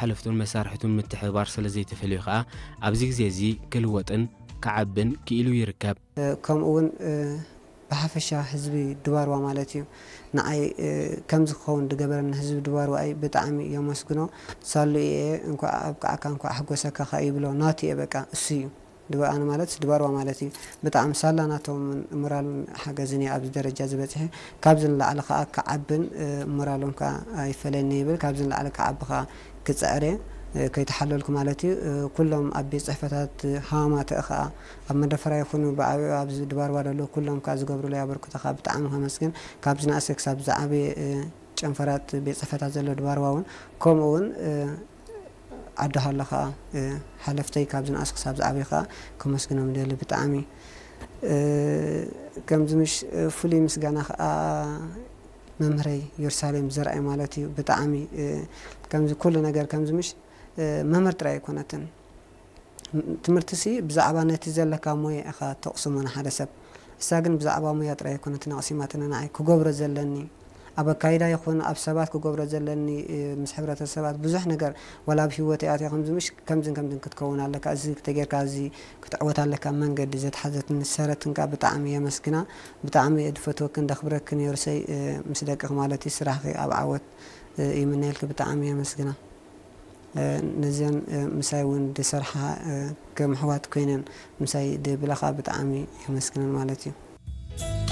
ሓለፍቱን መሳርሕቱን ምትሕብባር ስለ ዘይተፈልዩ ከኣ ኣብዚ ግዜ እዚ ክልወጥን ክዓብን ክኢሉ ይርከብ። ከምኡ እውን ብሓፈሻ ህዝቢ ድባርዋ ማለት እዩ ንዓይ ከምዚ ክኸውን ዝገበረኒ ህዝቢ ድባርዋ እዩ ብጣዕሚ የመስግኖ። ሳሉ እየ እንኳዕ ኣብቅዓካ እንኳዕ ኣሕጎሰካ ከ ይብሎ ናቱ እየ በቃ እሱ እዩ። ድባ ኣነ ማለት ድባርዋ ማለት እዩ። ብጣዕሚ ሳላ ናቶም ሞራልን ሓገዝን እየ ኣብዚ ደረጃ ዝበፅሐ። ካብዚ ንላዕሊ ከዓ ክዓብን ሞራሎም ከዓ ኣይፈለኒ ይብል። ካብዚ ንላዕሊ ክዓቢ ከዓ ክፅዕር እየ ከይተሓለልኩ ማለት እዩ። ኩሎም ኣብ ቤት ፅሕፈታት ሃማማተ ከዓ ኣብ መደፈራ ይኹኑ ብዓብኡ ኣብዚ ድባርዋ ዘለዉ ኩሎም ከዓ ዝገብሩለይ ኣበርክቶ ከዓ ብጣዕሚ ከመስግን። ካብ ዝነኣሰ ክሳብ ዝዓበየ ጨንፈራት ቤት ፅሕፈታት ዘሎ ድባርዋ እውን ከምኡ እውን ዓዲ ሃሎ ከዓ ሓለፍተይ ካብ ዝነኣስ ክሳብ ዝዓበየ ከዓ ከመስግኖም ደሊ ብጣዕሚ። ከምዚ ምሽ ፍሉይ ምስጋና ከዓ መምህረይ የሩሳሌም ዘርኣይ ማለት እዩ። ብጣዕሚ ከምዚ ኩሉ ነገር ከምዚ ምሽ መምህር ጥራይ ኣይኮነትን። ትምህርቲ ሲ ብዛዕባ ነቲ ዘለካ ሞያ ኢኻ ተቕስሞ ንሓደ ሰብ። እሳ ግን ብዛዕባ ሞያ ጥራይ ኣይኮነትን ኣቕሲማትኒ ንዓይ ክገብሮ ዘለኒ ኣብ ኣካይዳ ይኹን ኣብ ሰባት ክገብሮ ዘለኒ ምስ ሕብረተሰባት ብዙሕ ነገር ዋላ ኣብ ህይወት ኣትያ ከምዚ ምሽ ከምዝን ከምዝን ክትከውን ኣለካ እዚ ተጌርካ እዚ ክትዕወት ኣለካ መንገዲ ዘትሓዘትኒ ሰረትንካ ብጣዕሚ የመስግና። ብጣዕሚ እየ ድፈትወክን ደኽብረክን የሩሰይ ምስ ደቅኽ ማለት እዩ ስራሕኺ ኣብ ዓወት ይምነየልኪ ብጣዕሚ የመስግና። ነዚን ምሳይ እውን ድሰርሓ ከም ኣሕዋት ኮይነን ምሳይ ድብለኻ ብጣዕሚ የመስግነን ማለት እዩ።